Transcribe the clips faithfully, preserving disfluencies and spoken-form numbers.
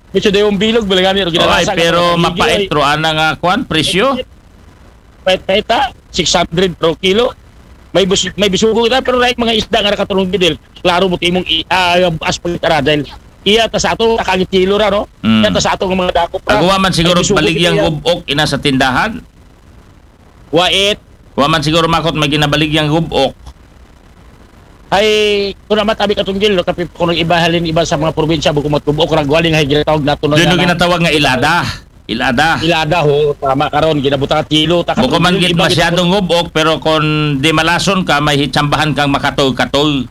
Medyo dayong bilog, balangani, pero ginalasa. Pero mapait ro ana nga kwan, presyo. Pait-pait ta, six hundred per kilo. May bus, may bisugo kita, pero right mga isda nga nakaturong gidil. Klaro mo timong i-, ah, as pagkara dahil iya ta sa ato, nakagitilo ra, no? Mm. Iya ta sa ato nga mga dakop ra. Aguwa man siguro baligyang gubok ina sa tindahan. Wait. Wa man siguro makot may ginabaligyang gubok. Ay, kung naman tabi katong gil, no, kapi, kung iba halin iba sa mga probinsya, bukod matubok, ragwaling ay ginatawag nato. Doon ginatawag nga ilada. Ilada. Ilada ho, tama karon, ginabutang tilo. Bukod man git masyadong gubok, pero kung di malason ka, may hitsambahan kang makatog-katog.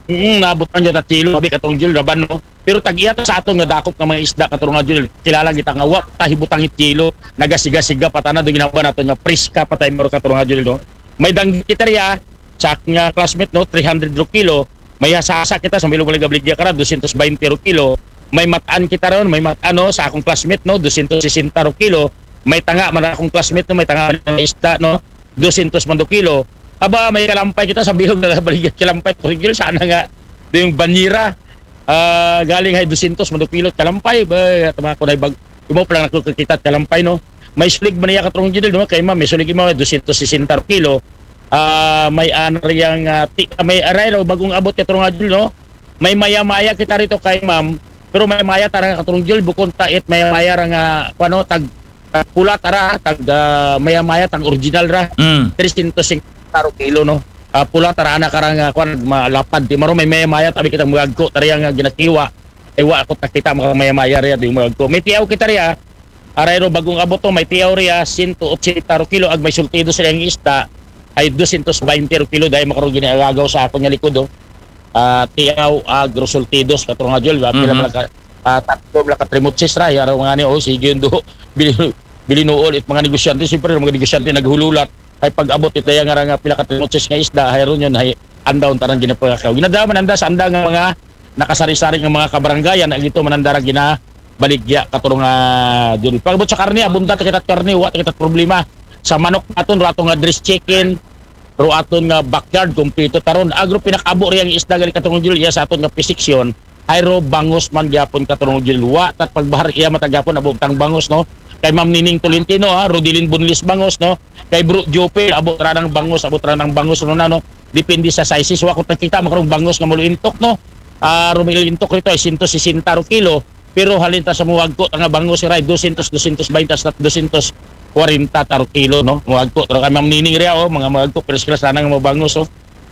Mm, nabutang niya na tilo, abi katong gil, raban, no? Pero tag-iya ta sa aton nga dakop nga mga isda katurong nga Jul, kilala kita nga wa ta hibutang kilo, nagasiga-siga pa tana do ginaba nato nga priska pa tayo maro katurong nga Jul, no? May danggi kita riya sa aking, ah, classmate, no, three hundred ro kilo. May hasasa kita sa milong wala gabligya kara, dosyentos baynte ro kilo. May matan kita ron, may matan, no, sa akong classmate, no, dosyentos sesenta ro kilo. May tanga man akong classmate, no, may tanga man ang isda, no, dosyentos man do kilo. Aba, may kalampay kita sa bilog na balik kalampay, Torgil, sana nga do yung banyera. Ah, galing hay dosyentos man do kilo kalampay, ba, tama ko na ibag, imo pa lang nakikita kalampay, no? May sulig man niya katurong Judel, no? Kay ma'am, may sulig mo, dosyentos sesenta kilo. Ah, may anariyang, ah, ti, may aray raw, bagong abot katurong Judel, no? May maya-maya kita rito kay ma'am, pero may maya tarang katurong Judel, bukon ta it maya-maya ra nga, ano, tag, tag pula tara, tag, ah, maya-maya, tag original ra. Mm. Tresyentos singkwenta ro kilo, no? Ah, pula tara, ana karang, ah, kwan, malapad. Di maro may maya-maya, tabi kita magagko, tara yang, ah, ginakiwa. Ay, wa ako takita, mga maya-maya riya, di magagko. May tiyaw kita riya, aray ro, bagong abot to, may tiyaw riya, sento otsenta ro kilo, ag may sultido sila yung isda, ay dosyentos baynte ro kilo, dahil makarong giniagaw sa ako niya likod, oh. Ah, tiyaw, ag, resultidos, katurong nga, Jol, ba? Pila Mhm. pala ka, ah, tatlo pala ka trimotsis ra, yaro mga ni, oh, sige yun do. Bili-, bilinuol, it mga negosyante, siyempre, mga negosyante naghululat, ay pag-abot, it daya nga ra nga pila ka trimotsis nga isda, hay ron yun, hay andaw, tarang ginapangakaw. Ginadaman, anda sa anda nga mga nakasari-sari nga mga kabarangayan, ag ito, mananda ra ginabaligya, katurong nga, Jol. Pag-abot sa karne, abunda, takita karne, wa, takita problema. Sa manok naton, rato nga dress chicken, ro aton nga backyard, kumpleto taron. Agro pinakabo riyang isda gali katurong Jul, iya sa aton nga pisiksyon, ay ro bangos man gyapon katurong Jul. Wa, tat pagbahar iya matagyapon, abo tang bangos, no? Kay Ma'am Nining Tolentino, ha, Rodilin Bunlis bangos, no? Kay Bro Jope, abo ranang bangos, abo ranang bangos, no, na, no? Depende sa sizes. Wa ko nakita, makarong bangos nga muluintok, no? Ah, rumilintok rito ay sento sesenta ro kilo. Pero halin ta sa muwagko ta nga bangos, ray, dosyentos, dosyentos baynte hasta dosyentos kwarenta taro kilo, no? Muwagko taro kay Ma'am Nining riya, oh, mga muwagko, pero sila sana nga mabangos, oh.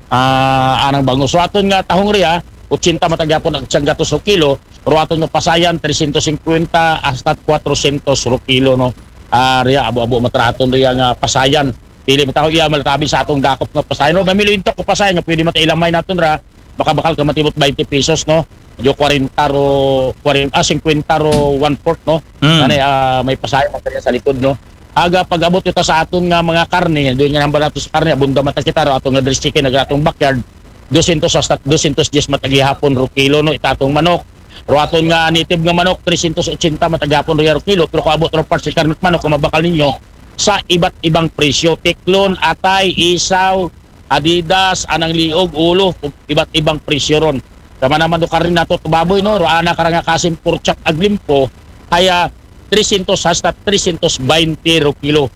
Ah, anang bangos. So, aton nga tahong riya, otsenta matagyapon ang siyang gatos o kilo, pero aton nga pasayan, tresyentos singkwenta hasta kwatrosyentos ro kilo, no? Ah, riya, abo-abo matraton riya nga pasayan. Pili mo taho iya, malatabi sa atong dakop nga pasayan. No, mamilo intok ko pasayan nga pwede matailamay naton ra, makabakal ka matibot twenty pesos, no? Medyo kwarenta ro, kwarenta, ah, singkwenta ro one-fourth, no? Mm. Ano, ah, may pasahe man kanya sa likod, no? Aga pag-abot ito sa aton nga mga karne, doon nga nambal nato sa karne, abunda mata kita ro, aton nga dress chicken, ag atong backyard, dosyentos hasta dosyentos diyes matagihapon ro kilo, no? Itatong manok. Ro aton nga native nga manok, tresyentos otsenta matagihapon ro kilo, pero kung abot ro parts sa karne manok, kung mabakal ninyo, sa iba't ibang presyo, tiklon, atay, isaw, Adidas, anang liog, ulo, iba't ibang presyo ron. Tama naman do karne nato, baboy, no? Ro ana karang nga kasim, pork chop, ag limpo, kaya tresyentos hasta tresyentos baynte ro kilo.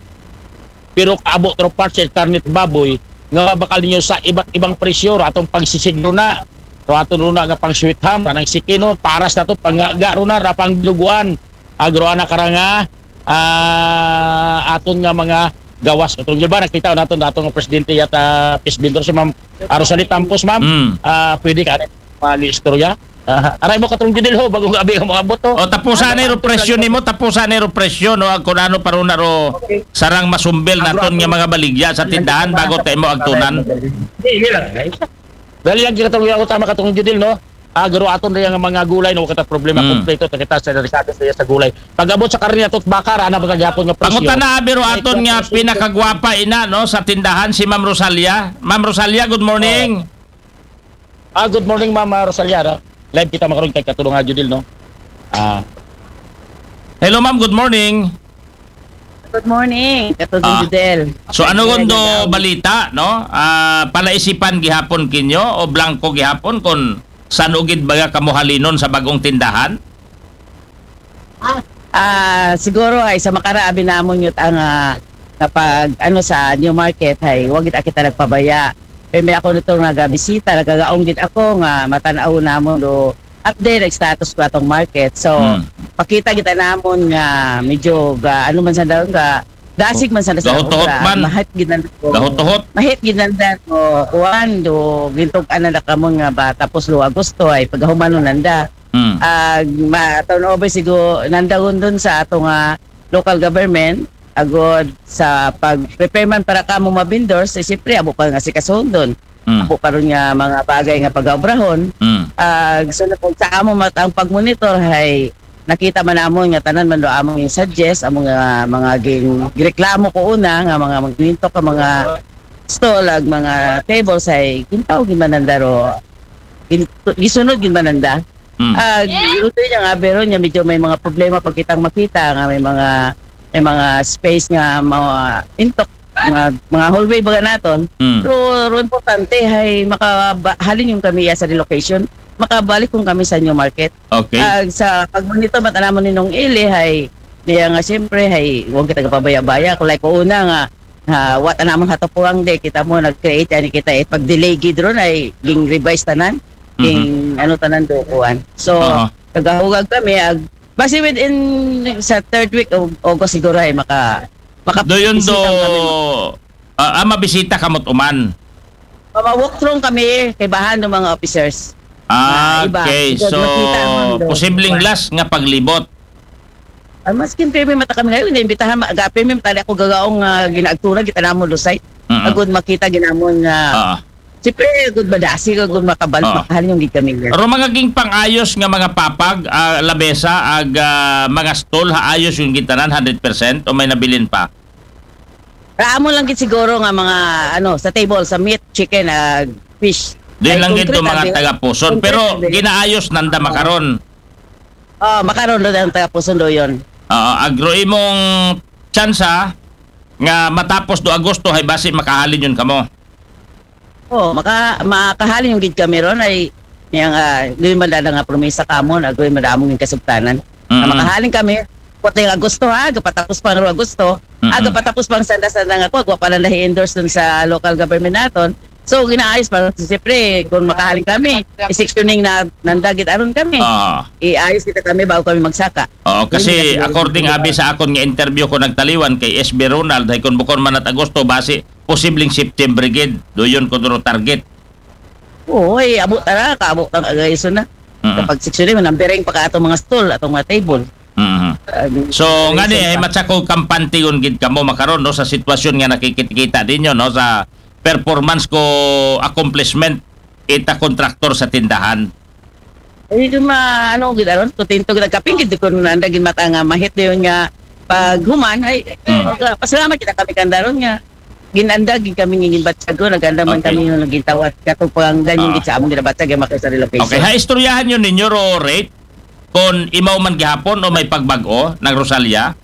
Pero kaabot ro parts sa karne baboy, nga mabakal ninyo sa iba't ibang presyo, ro atong pagsisigro na, ro aton ro na nga pang sweet ham, anang sikino, paras nato, pangaga ro na, ra pang binuguan, agro ana karang nga, ah, aton nga mga gawas. Katong di ba, nakita naton, aton nga presidente yata, peace builder, si Ma'am, ah, Rosalie Tampos, ma'am. Mm. Ah, pwede ka, mga istorya? Ah, aray mo katong Judel ho, bagong abi nga mga boto. O, tapusan ni ro presyo nimo, tapusan ni ro presyo, no? Ang kung ano pa ron na ro Okay. sarang masumbel Agro naton nga ako. mga baligya sa tindahan bago tayo mo agtunan. Hindi, hindi lang, guys. Dali lang kita tong ako tama katong Judel, no? Agro aton rin ang mga gulay, no? Kita problema Mm. kompleto, ta kita sa delikado sa, sa gulay. Pag-abot sa karne ato, baka, ra na ba tagyapon nga presyo? Pangutana, abi ro Ay, aton nga presyo. pinakagwapa ina, no, sa tindahan, si Ma'am Rosalia. Ma'am Rosalia, good morning. Ah, good morning, Ma'am, ah, Rosalia, no? Live kita makaroon kay Katulong nga Judel, no? Ah. Hello, ma'am. Good morning. Good morning, Katulong Ah. Judel. So, ano Katulong kundo Judel. balita, no? Ah, palaisipan gihapon kinyo o blanco gihapon kung saan ugid baga kamuhalinon sa bagong tindahan? Ah, siguro ay sa makaraabi namon yun ang ah, kapag ano sa New Market ay wag gid kita nagpabaya. Pero may ako nito nagabisita, nagagaong gid ako nga matanaw namon do update ang status ko atong market. So, Hmm. pakita kita namon nga medyo ga, ano man sa daw nga dasig man sa sa Gahutuhot obra, man. Mahit gid nanda ko. Gahutuhot. Mahit gid nanda ko kuan do gintug-an na kamon nga ba tapos lo Agosto ay pagahumanon nanda. Hmm. Ah, ma turnover sigo nanda dun sa ato nga local government agod sa pag-prepare man para kamo ma-vendors, eh, siyempre, abo pa nga si kasundon. Hmm. Abo pa ron nga mga bagay nga pagaobrahon. Hmm. Ah, so, sa amo mat ang pag-monitor, hay, nakita man namon nga tanan man do among yung suggest, among nga mga ging, gireklamo ko una, nga mga magminto ka mga stall, ag mga tables, ay gintaw gid man nanda ro. Gin-, gisunod gid man nanda. Hmm. Ah, luto niya nga, pero niya medyo may mga problema pag kitang makita nga may mga may mga space nga mga intok, mga, mga hallway baga naton. Hmm. Pero ro importante ay makahalin yung kami sa relocation, makabalik kung kami sa new market. Okay. Ah, sa pagmonitor mata namon ninong Ili ay niya nga siyempre ay huwag kita kapabaya-baya. Kung like una nga ha, wa ta namon hatapuang de kita mo nag-create ani kita eh pag-delay gid ron ay ging revise tanan. Ging ano tanan do kuan. So Aha. nagahugag kami ag basi within sa third week of August siguro ay maka maka Do yun do, bisita kami. Ah, ah, mabisita ka mo't uman. Ma-walk through kami kay bahan ng mga officers. Ah, Ah, iba. Okay. Because So, makita mo do. posibleng last nga paglibot. Ang maskin pirmi mata kami ngayon, imbitahan ma-, aga pirmi mata ako gagaong uh, ginaagtura kita namon do site. Mm-mm. Agud makita ginamon nga Ah. siyempre agud madasi agud makabal Ah. makahalin yung gid kami nga. Pero mga ging pang-ayos nga mga papag, ah, labesa, ag ah, mga stall, ha ayos yung gintanan, hundred percent o may nabilin pa? Raamo lang gid siguro nga mga ano sa table sa meat, chicken, ah, fish. Din Ay, lang gid concrete, mga abi. Taga-Puson. Concrete, Pero abi. ginaayos nanda makaron. Oh, makaron do ang taga-Puson do yun. Ah, agro imong tsansa nga matapos do Agosto hay basi makahalin yun kamo. Oh, maka makahalin yung gid kami ron ay yang uh, doon man dada nga promesa kamon, agoy madamong yung kasugtanan. Mm-mm. Makahalin kami, puting Agosto ha, gapatapos pang ro Agosto, Mm-mm. aga patapos pang sanda-sanda nga ko, agwa pa lang endorse dun sa local government naton. So, ginaayos pa, siyempre, kung makahalin kami, i-sectioning na nandagit aron kami. Ah. Iayos kita kami bago kami magsaka. Oo, kasi Hindi na according pinag- abi sa akon nga interview ko nagtaliwan kay S B Ronald, hay kun bukon man at Agosto, basi posibleng September gid, doyon ko duro target. Oo, ay, abo tara, kaabo tang agayso na. Mm-mm. Kapag sectioning, manambering pa ka atong mga stall, atong mga table. Mhm. Ah, So, ay, ngani, sa ay iba. Matsako, kampantigon gid kamo makaron, no, sa sitwasyon nga nakikita ninyo, no, sa performance ko accomplishment ita kontraktor sa tindahan. Ay, di ma, ano, gid aron, kontento gid kaping gid ko nanda gid mata nga mahit dayon nga paghuman ay Mm. ah, pasalamat kita kami kandaron nga ginanda gid kami ngin batsago naganda man Okay. Kami yung naging tawat katong pangdan yung Ah. gid sa among ginabatsa gid makita sa relocation. Okay, ha istoryahan nyo ninyo ro rate kung imaw man gihapon o may pagbag-o ng Rosalia.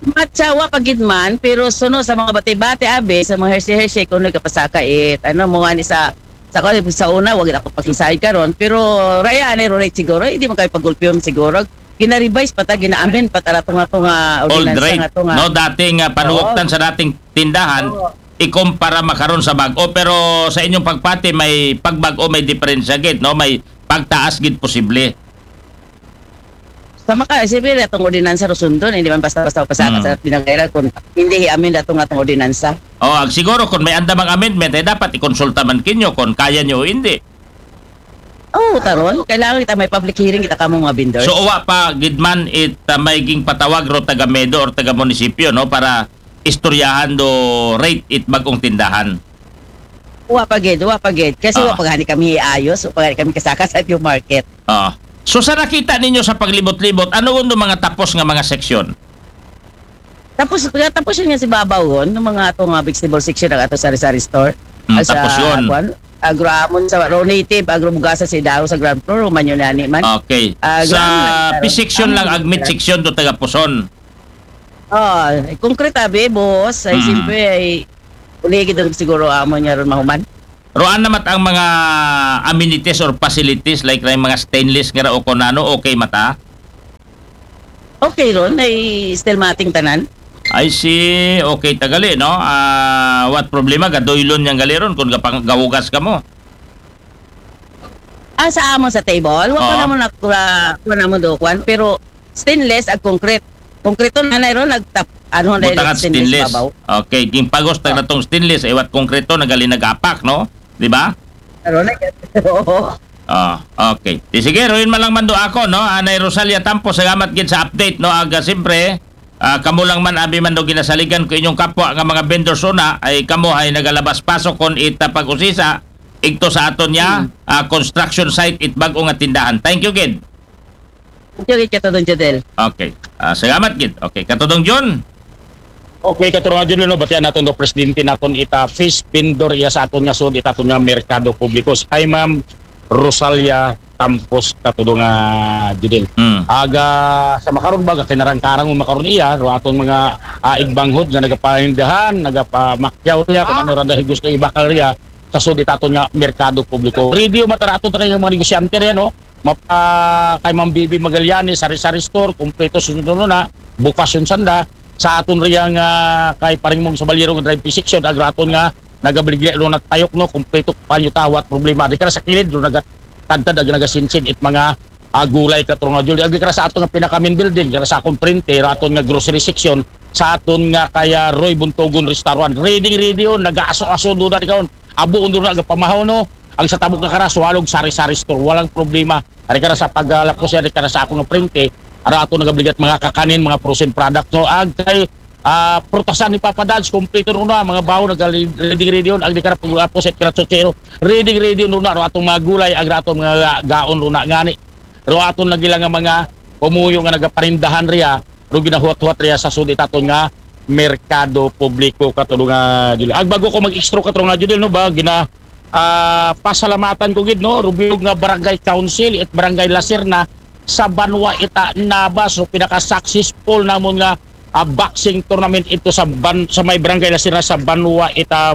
Matsawa pa gid man, pero suno sa mga bati-bati abi sa mga hersi-hersi kung nagkapasaka it ano mo ani sa sa ko sa una wag ako pakisayod karon pero raya ani ro rate siguro hindi man kay pagulpiyon siguro gina-revise pa ta gina-amend pa ta ato nga ato nga Old ordinansa rate, nga ato nga no, dating uh, panuwaktan Oo. Sa dating tindahan, Oo. Ikumpara makaron sa bag-o, pero sa inyong pagpati may pagbag-o, may diferensya gid, no, may pagtaas gid posible. Sa maka siyempre atong ordinansa ro sundon hindi man basta-basta pasaka Mm. Sa pinangairan kung hindi i-amend ato nga atong ordinansa. O, ag siguro kung may andamang amendment ay dapat ikonsulta man kinyo kung kaya nyo o hindi. Oo, taron kailangan kita may public hearing kita kamo mga vendors. So uwa pa gid man it uh, may ging patawag ro taga medo or taga munisipyo, no, para istoryahan do rate it bag-ong tindahan. Wa pa gid, wa pa gid. Kasi Ah. Wa pa gani kami ayos, wa pa gani kami kasaka sa new market. Ah. So sa nakita ninyo sa paglibot-libot, ano undo mga tapos nga mga seksyon? Tapos tapos yun nga si Babawon, ng mga ato nga vegetable section ng ato sari-sari store. Mm, Ah, sa, tapos yun. Kwan, agro amon sa raw native, agro bugasa si Dao sa ground floor, man yun ani man. Okay. Ah, Sa ground, P section lang, ah, ag meat section do taga Puson. Oh, concrete abi, boss. Ay, Mm. siyempre, ay, uligid ang siguro amo niya ron mahuman. Roan naman ang mga amenities or facilities like na yung mga stainless nga ra o kung ano, okay mata? Okay ron, ay still mating tanan. I see. Okay, tagali, no? Ah, what problema? Gaduylon niyang gali ron kung gapang-, gahugas ka mo. Ah, sa amo sa table, wa ko Oo. namo na, wa, wa namo do kwan, pero stainless ag concrete. Concrete na na ron, nagtap, ano na Butangan stainless stainless. Babaw. Okay, ginpagos tag natong stainless, iwat konkreto, nagali nagapak, no? Di ba? Pero na, oo. Ah, okay. Di sige, ruin man lang mando ako, no? Anay Rosalia Tampo, salamat gid sa update, no? Aga, siyempre, ah, kamo lang man, abi man do ginasaligan ko inyong kapwa nga mga vendors una, ay kamo ay nagalabas pasok kon ita pag-usisa, igto sa aton niya, ah, construction site, it bag-o nga tindahan. Thank you, gid. Thank you, Katudong Jodel. Okay. Ah, salamat, gid. Okay, Katudong John. Okay, Katudong Jodel, no, batian naton do presidente naton ita fish vendor iya sa aton nga sud, ita aton nga merkado publiko. Hi, Ma'am Rosalia Tampos, Katudong nga Jodel. Hmm. Aga sa makaron ba, kinarang-karang mo makaron iya, ro aton mga ah, igbanghod nga nagapanindahan, nagapamakyaw niya, kung ano randa gusto ibakal niya, sa sud ita aton nga merkado publiko. Radio matarato tayo yung mga negosyante rin, no? Mapa, kay Ma'am Bibi Magallanes, Sari-Sari Store, kompleto sunod na, bukas yung sanda, sa aton riyang ah, kay Paring Mong Sabaliro nga drive section, agraton nga, nagabaligya lo na tayok, no, kompleto panyo tawat problema. Di ka na sa kilid, lo nagatadtad, ag nagasinsin, it mga ah, gulay, Katudong Jodel. Agi ka na sa aton nga pinaka main building, ka na sa akong printe, raton nga grocery section, sa aton nga kaya Roy Buntogon Restaurant. Ready, ready yun, nag-aaso-aso, doon na ikaw. Abo, doon na, agapamahaw, no? Ang sa tabok na kara, Swalog, Sari-Sari Store, walang problema. Ari ka na sa paglapos yan, ari ka na sa akong printe, ara ato nagabligat mga kakanin, mga frozen product, no? Ag kay ah, prutasan ni Papa Dads, kompleto ron na, mga bawo, nag-ready-ready yun, ag di ka na paglapos, at karatsotse, no? Ready-ready yun ron na, ro atong mga gulay, ag atong mga ga- gaon ron na, ngani. Ro aton lagi lang nga mga pumuyo nga nagaparindahan riya, ro ginahuwat-huwat riya sa sud ita aton nga merkado publiko, Katudong nga Jodel. Ag bago ko mag-extra, Katudong nga Jodel, no, ba, gina, ah, pasalamatan ko gid, no, ro bilog nga barangay council, it barangay Lacerna, sa banwa ita Nabas, so pinaka-successful namon nga ah, boxing tournament ito sa ban- sa may barangay Lacerna sa banwa ita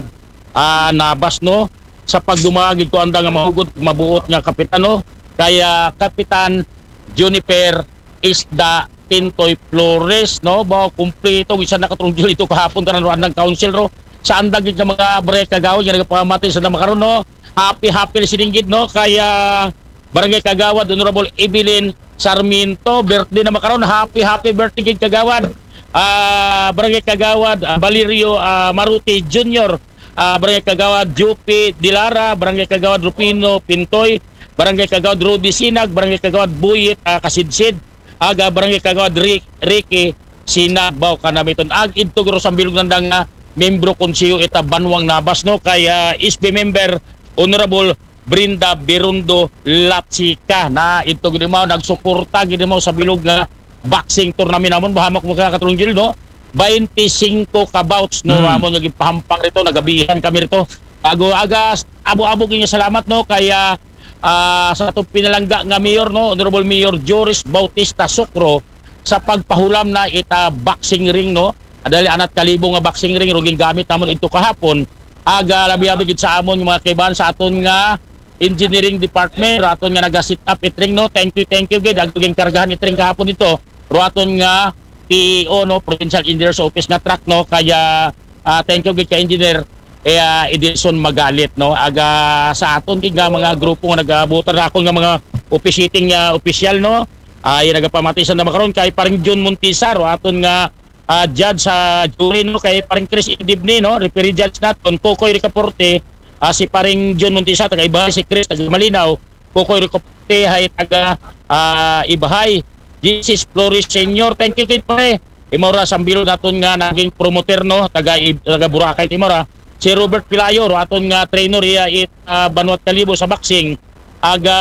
ah, Nabas, no, sa pagdumagig ko anda nga mahugod, mabuot nga kapitan, no, kaya Kapitan Juniper Isda Tintoy Flores, no, ba, kumpleto isa na, Katudong Jodel, ito kahapon, tanan ro andang council ro sa andang gid nga mga barangay kagawad nga nagapamati sa makaron, no. Happy, happy listening gid, no, kaya Barangay Kagawad Honorable Evelyn Sarmiento, birthday na makaron. Happy, happy birthday gid, Kagawad. Ah, Barangay Kagawad ah, Valerio ah, Maruti Junior, ah, Barangay Kagawad Jupi Dilara, Barangay Kagawad Rufino Pintoy, Barangay Kagawad Rudy Sinag, Barangay Kagawad Buyit ah, Kasidsid, aga Barangay Kagawad Rick, Ricky Sinag, baw kanamiton. Ag idto guro sa bilog nanda nga membro konseho ita banwang Nabas, no, kay ah, S B member Honorable Brenda Birundo Latsika, na ito gid mao nagsuporta gid mao sa bilog nga boxing tournament namon, bahamak mo ka, Katudong Jodel, no? Twenty-five ka bouts, no, Hmm. Amon nga gipahampang rito, nagabihan kami rito. Ago agas, abo-abo gid nga salamat, no, kaya ah, sa atong pinalangga nga mayor, no, Honorable Mayor Joris Bautista Socro, sa pagpahulam na ita boxing ring, no. Adali anat kalibo nga boxing ring ro gingamit namon ito kahapon. Aga labi-labi gid sa amon nga mga kaibahan sa aton nga engineering department, ro aton nga naga-set up it ring, no. Thank you, thank you gid. Ang ginkargahan it ring kahapon ito, ro aton nga P E O, no, Provincial Engineer's Office nga truck, no. Kaya ah, thank you gid ka Engineer eh, ah, Edison Magalit, no. Aga sa aton gid nga mga grupo nga nagabutar na akon nga mga officiating nga opisyal, no. Ay nagapamati sa makaron kay Paring Jun Montisa, ro aton nga ah, judge sa jury, no, kay Paring Chris Indibni, no, referee judge naton, Kokoy Ricaporte, ah, si Paring Jun Montisa, taga Ibahay, si Chris, taga Malinaw, Kokoy Ricaporte, hay taga ah, Ibahay, Jesus Flores Senior, thank you kid pare. Imora sa bilog naton nga naging promoter, no, taga Ib- taga Boracay, Timora. Si Robert Pilayo, ro aton nga trainer iya it ah, Banwat Kalibo sa boxing. Aga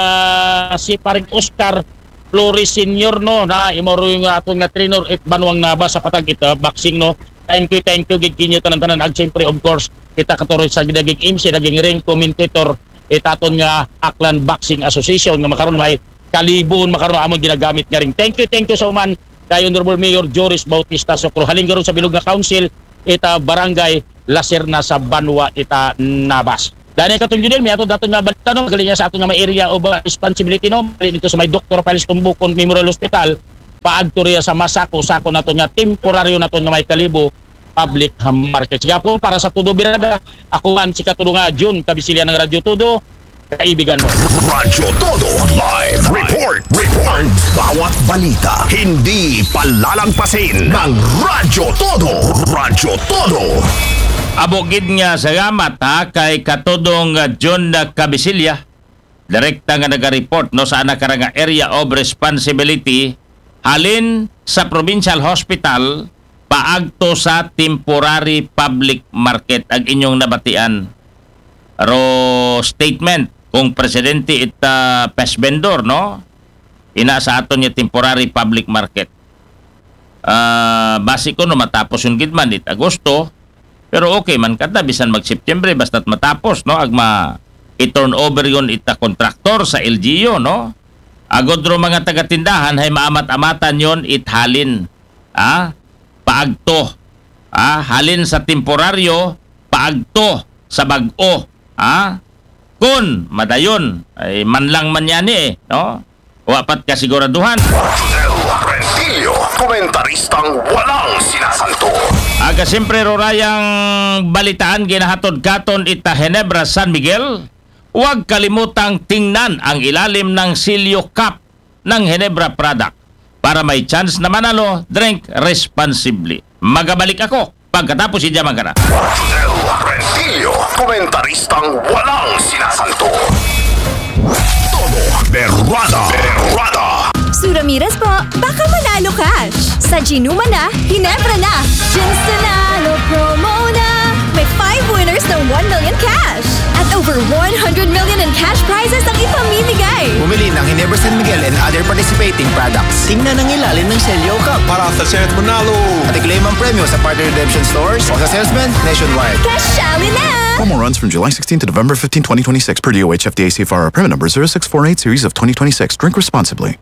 si Paring Oscar Flores Senior, no, na imoro yung aton nga trainer it banwang Nabas sa patag ita boxing, no. Thank you, thank you gid kinyo tanan-tanan. Ag siyempre, of course, kita Katudong sa gidagig M C, daging ring commentator, itaton nga Aklan Boxing Association nga makaron may kalibon makaron amon ginagamit nga ring. Thank you, thank you so much kay Honorable Mayor Joris Bautista Socro. Halin garon sa bilog nga council, ita barangay Lacerna sa banwa ita Nabas. Dani Katudong Jodel, may ato dato nga balita, no, magaling sa ato nga may area of uh, responsibility, no, magaling dito sa may Doctor Piles Tumbukon Memorial Hospital. paadto riya sa masako-sako naton nga temporaryo naton nga may Kalibo Public Market. Sige po, para sa Todo Birada, ako man si Katudo nga Jun Kabisilya ng Radyo Todo, kaibigan mo. Radyo Todo Live Report. Report. Bawat balita, hindi palalampasin ng Radyo Todo. Radyo Todo. Amo gid nga salamat ha kay Katudong Jun Kabisilya, direkta nga naga-report no sa ana karang area of responsibility halin sa provincial hospital paagto sa temporary public market ang inyong nabatian ro statement kung presidente it uh, pest vendor no ina sa aton nga temporary public market. Uh, basi ko no matapos yung gidman it Agosto, pero okay man kada bisan mag September basta't matapos no agma i-turn over yun ita kontraktor sa L G U no. Agod ro mga tagatindahan hay maamat-amatan yon it halin ah paagto ah halin sa temporaryo paagto sa bag-o ah kun madayon ay manlang man yani eh no. Wa pat kasiguraduhan. Rentillo, komentaristang walang sinasanto. Aga siyempre rorayang balitaan ginahatod katon ita Ginebra San Miguel. Huwag kalimutang tingnan ang ilalim ng silyo cap ng Ginebra product para may chance na manalo. Drink responsibly. Magabalik ako pagkatapos si Jamangkana. Rentillo, komentaristang walang sinasanto. Todo Berrada. Berrada. Sue Ramirez po, baka manalo cash. Sa Ginuma na, Ginebra na. Ginstanalo promo na. May five winners ng one million cash. At over one hundred million in cash prizes ang ipamimigay. Bumili ng Ginebra San Miguel and other participating products. Tingnan ang ilalim ng selyo cap para sa chance manalo. At i-claim ang premyo sa partner redemption stores o sa salesman nationwide. Kasali na! Promo runs from July sixteenth to November fifteenth, twenty twenty-six, per D O H F D A C F R, permit number zero six four eight series of twenty twenty-six. Drink responsibly.